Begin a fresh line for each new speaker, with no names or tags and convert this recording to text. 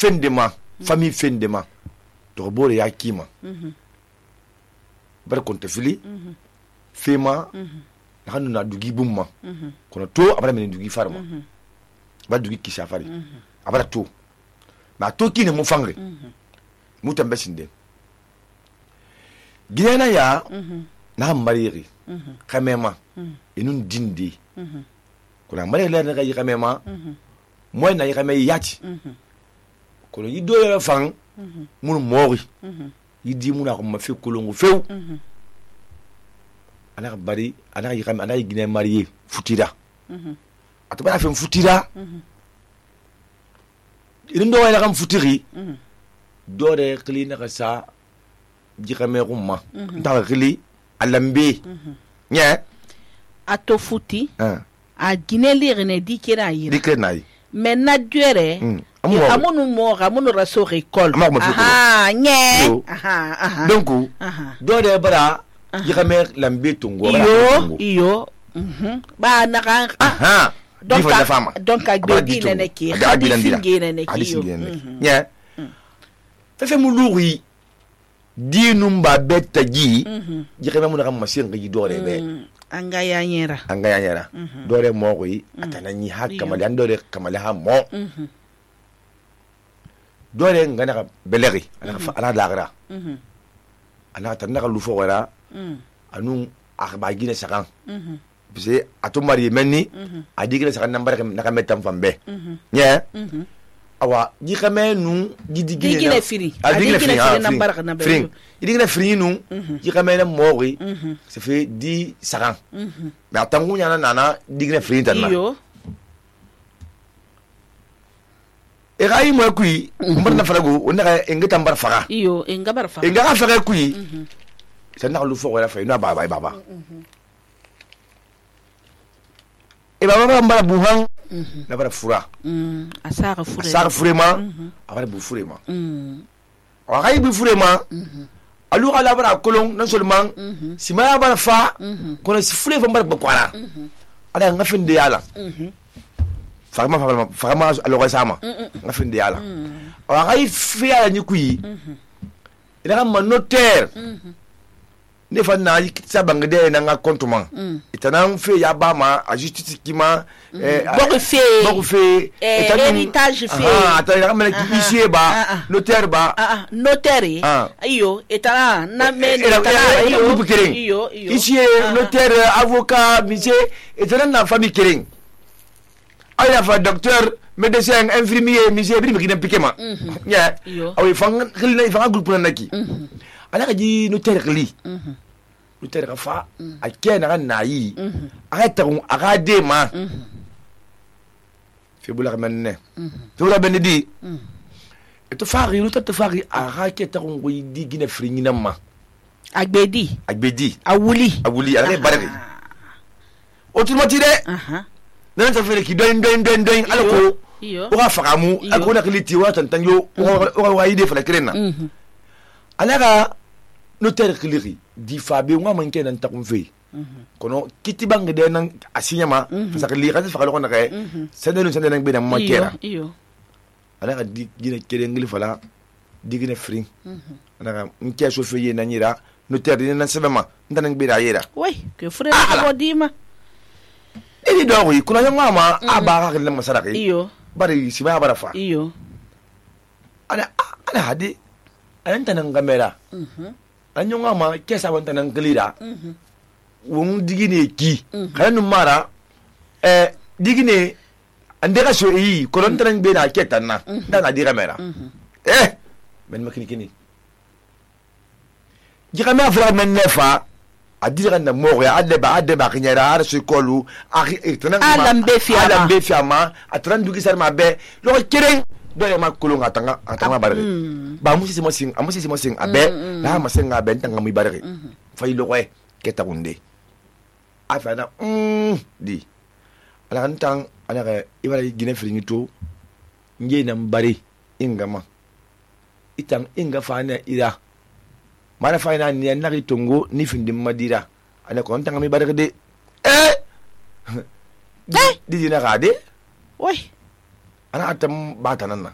fendema famille fendema to bore ya kima bar konta fili fema hanu na dugi bumma kono to abara men dugi farma ba dugi kisha fari abara to ma to kine mu fangre mu tambe sinde gina ya na mariri kamema inun dindi kuna mariri la na ga kamema moy na yame yati kono yido ya fang mun mori yidi mun ko ma fi kolongo few ana bari ana yame ana gine marié futira ataba fa futira indo wala kam futiri dore klina ka sa jikame rumma ta kli alambe nya
ato futi a gine lire ne dikena yi mais na duere amunu mo amunu raso récolte nye
donc dore bara jikame lambe tungo
iyo ba na kan donc agbe nene ki khadi nene ki
nya fe muluri dinum ba betaji jikame mun kam masin ngi dore be
anga ya nyera
dore mo ko yi atanani hakka mali an dore kamali ha mo dore ngana ka beleri ana lagra ana tanaka lufo wala anu akhba gine sakan bise ato mari menni adigile sakan nambar na ka metam fambe nya awa jikame nu
digile firi nambar ka nambe
idigile firi nu jikame na mori se fait 10 sakan mais atangu nyana nana digile firi tanna
iyo
e gai mo kui mbar na farago onaka engeta mbar fara
iyo engabar fara
enga fara kui sana lu fo wala fa ina baba e baba mbar buhan na bara fura asara furema abara bu furema wa gai bu furema alu ala bara kolon non seulement si ma bara fa kono si fure fa mbar bakwara ala ngafinde yala fagama alo sama ngafinde yala wa gai fiya ni kui ila ma notaire ne fa na sabangde na nga comptement itanan fe ya ba ma a justice kima
beaucoup fait héritage fait
ata na ki ici ba notaire ba
notaire iyo etana na men
iyo ici notaire avocat monsieur etana na famille kering aya fa docteur médecin infirmier monsieur bi mi pikema ya awi fang khilna fang groupe na naki ala ka ji notaire li notaire ka fa a kena kan nayi aga tagun aga de ma fi bula manne to la benedi to fari no to fari aga ke tagun go di gina fringina ma
agbedi awuli
ala barari automatique nan ta fere ki doin alako o ga fagamu akona kliti wa tantanyo o ga ide fala krena alaga notaire kliri di fabe ngwa manke nan takunfe kono kitibang de nan asinyama fasakli kan fa ko na kay sendenu nan be na makera alaga di gina kede ngli fala di gina fring alaga nke so feye na nyira notaire nan sebema nan be da yera
oui que frère abodima
ini dowi kuna yang mama abara kan lemma saraki
iyo
bari siba bara fa
iyo
ana hadi anta nan gamera anyo ngama kesa wanta nan glida won digine ki kanu mara digine andega so yi kolon tan be na ketanna dana di gamera men makini jikame afra men nefa adira na moro ya ade ba kinyara ara su kolu
alambe
fiama atran dugi sar mabe lo keren do ya makulu atanga barre ba musi mo sing abe la ma senga be tanga mi barre fay lo koy keta gunde afana di ala kan ala ga ibara gine fringito nge na mbari ingama itang inga fana ira mana fayna ni na ritongo ni findim madira ana ko tanga mi baraka de di na gade
oui
ana atam batanan na